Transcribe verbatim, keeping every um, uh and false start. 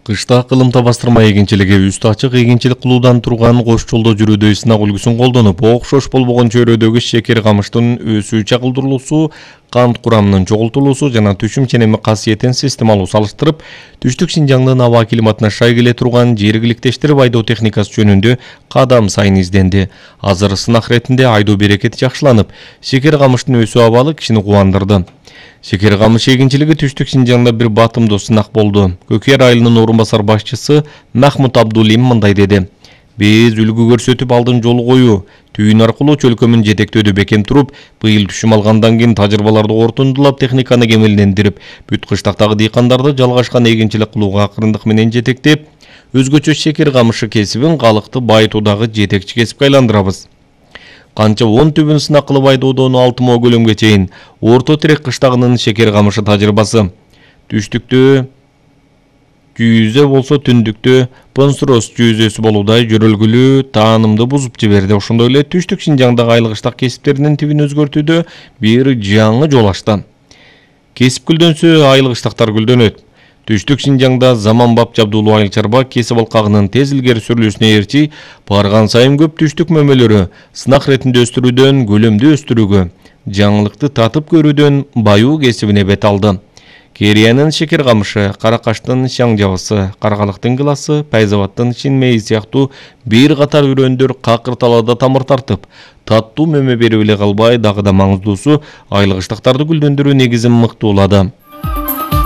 Кышта кылымта бастырма эгинчилиги үстү ачык эгинчилик кылуудан турган кош жолдо жүрүүдө сынак үлгүсүн колдонуп, окшош болбогон чөйрөдөгү шекер камыштын өсүү чагылдырылуусу, кант курамынын чогултулуусу жана түшүм ченеми касиетин системалуу салыштырып, Түштүк Синжаңдын аба климатына шай келе турган жергиликтештирип айдоо техникасы жөнүндө кадам сайын изденди. Азыр сынак иретинде айдоо берекети жакшыланып, шекер камыштын өсүү абалы кишини кубандырды. Шекер камыш эгинчилиги Түштүк Синжаңда бир батымдуу сынак болду. Көкер айылынын орун басар башчысы Махмут Абдулим мындай деди: Биз үлгү көрсөтүп алдын жол коюу, түйүн аркылуу чөлкөмүн жетектөөдө бекем туруп, быйыл түшүм алгандан кийин тажрыйбаларды кортундулап, техниканы кемелдендирип, бүт кыштактагы дыйкандарды жалгашкан эгинчилик кылууга акырындык менен жетектеп, өзгөчө шекер камышы кесибин калыкты байытуудагы жетекчи кесипке айландырабыз. Канча он түбүн сынак кылып айдоодон алты миң көлөмгө чейин Орто Терек кыштагынын шекер камышы тажрыйбасы. Түштүктө жүйүзө болсо түндүктө Понсрос жүйүзөсү болуудай жөрөлгүлүү таанымды бузуп жиберди. Ошондой эле Түштүк Синжаңдагы айыл кыштак кесиптеринин тибин өзгөртүүдө бир жаңы жол ачты. Кесип гүлдөнсө, айыл кыштактар гүлдөнөт. Түштүк Синжаңда заманбап жабдуулуу айыл чарба кесип алкагынын тез илгери сүрүлүүсүнө ээрчи барган сайын көп түштүк мөмөлөрү сынак иретинде өстүрүүдөн көлөмдү өстүрүүгө, жаңылыкты татып көрүүдөн баюу кесибине бет алды. Кериянын шекер камышы, Каракаштын шаң жабысы, Каргалыктын гыласы, Пайзабаттын шин мейи сыяктуу бир катар үрөндөр какыр талаада тамыр тартып, таттуу мөмө берип эле калбай, дагы да маңыздуусу айыл кыштактарды гүлдөндүрүү негизин мыктуулады.